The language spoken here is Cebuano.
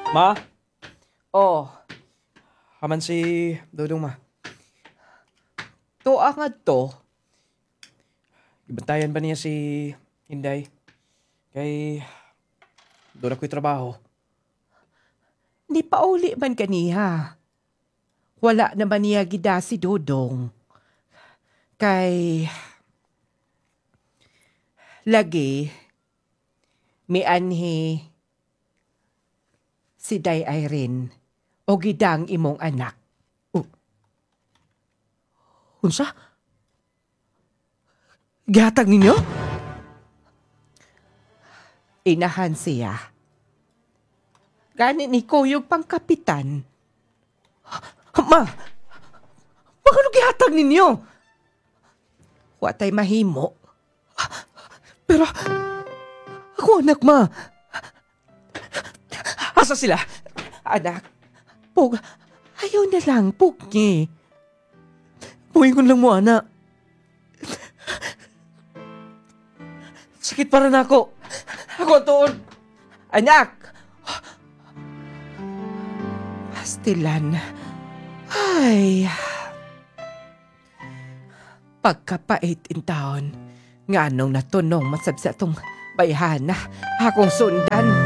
Ma, Oh, haman si Dodong, ma. Tuwa nga to. Gibantayan ba niya si Inday? Kay doon ako'y trabaho. Ni pauli man kaniha. Wala naman niya gida si Dodong. Kay lagi mianhi si Day Irene o gidang imong anak. Unsa? Gihatag ninyo? Inahan siya. Gani ni Kuyog pang kapitan. Ma! Bakit gihatag ninyo? Wa tay mahimo. Pero ako anak, ma. Asa sila? Anak, pug, ayaw na lang, pugni. Puhingon lang mo, anak. Sakit para na ako. Ako ang tuon. Anak! Pastilan. Ay. Pagkapait in taon. Nga nung natunong masab sa itong bayhana. Akong sundan.